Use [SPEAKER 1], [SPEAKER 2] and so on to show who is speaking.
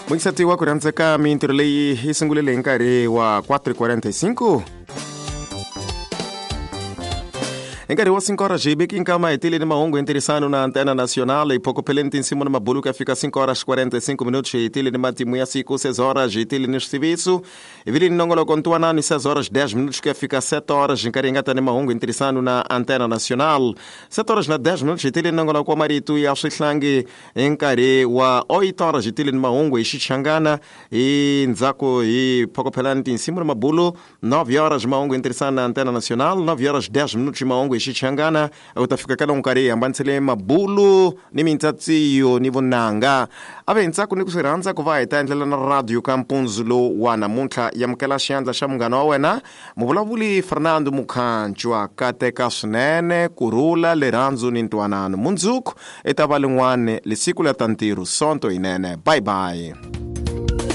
[SPEAKER 1] Muingisati wa ku rhandzeka, mintirho leyi yi sungulile hi nkarhi wa 4:45. Hi nkarhi wa 5 horas hi veki nkama hi tile ni mahungu hi ntirhisano na Antena Nacional. Hi phokopheleni tinsimu na mabulu ku ya fika 5 horas 45 minutos. Hi tile ni matimu ya siku 6 horas, hi tile ni switiviso, hi vile ni nongoloko ntwanano 6 horas 10 minutos ku ya fika 7 horas, hi nkarhi hi nga ta ni mahungu hi ntirhisano na Antena Nacional. 7 horas na 10 minutos hi tile ni nongoloko wa marito ya swihlangi. Hi nkarhi wa 8 horas hi tile ni mahungu hi Xichangana, hi ndzhaku hi phokophelani tinsimu na mabulu. 9 horas mahungu hi ntirhisano na Antena Nacional. 9 horas 10 minutos mahungu hi Xichangana. U ta fika ka lowu nkarhi hi hambanisele mabulu ni mintsatsiyo ni vunanga. A ve hi ntsako ni ku swi rhandza ku va hi ta endlela na radio ka mpundzu lowu wa namuntlha. Yamukela xiyandla xa munghana wa wena, muvulavuli Fernando Mukhanchwa. Kateka swinene, kurhula, lerhandzu ni ntwanano. Mundzuku i ta va lin'wana lisiku la ta ntirho, sonto yinene. Bye bye.